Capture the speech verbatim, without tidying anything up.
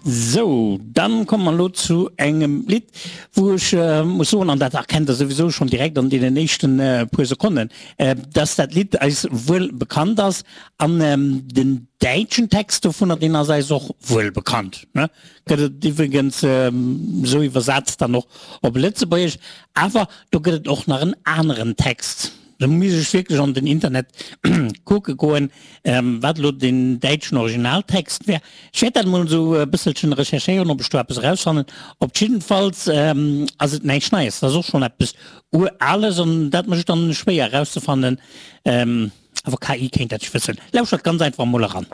Sou, dann komme mer elo zu engem Lidd, wou ech muss soen, an dat erkennt Der souwisou schonn direkt an deenen éischten puer Sekonnen, dass dat Lidd eis wuel bekannt ass. An den däitschen Text dovunner, deen ass eis och wuel bekannt, ne? Gëtt et iwwregens esou iwwersat dann och op Lëtzebuergesch. Awer do gëtt et och nach en aneren Text. Do misst ech wierklech an den Internet kucke goen, wat elo den däitschen Originaltext wär. Ech wäert dat emol esou e bësselchen recherchéieren, ob ech do eppes erausfannen. Op jiddefalls ass et näischt Neies, dat ass och schonn eppes Urales an dat mécht et dann schwéier erauszefannen. Awer K I kéint dat wëssen. Lauschtert ganz einfach emol eran.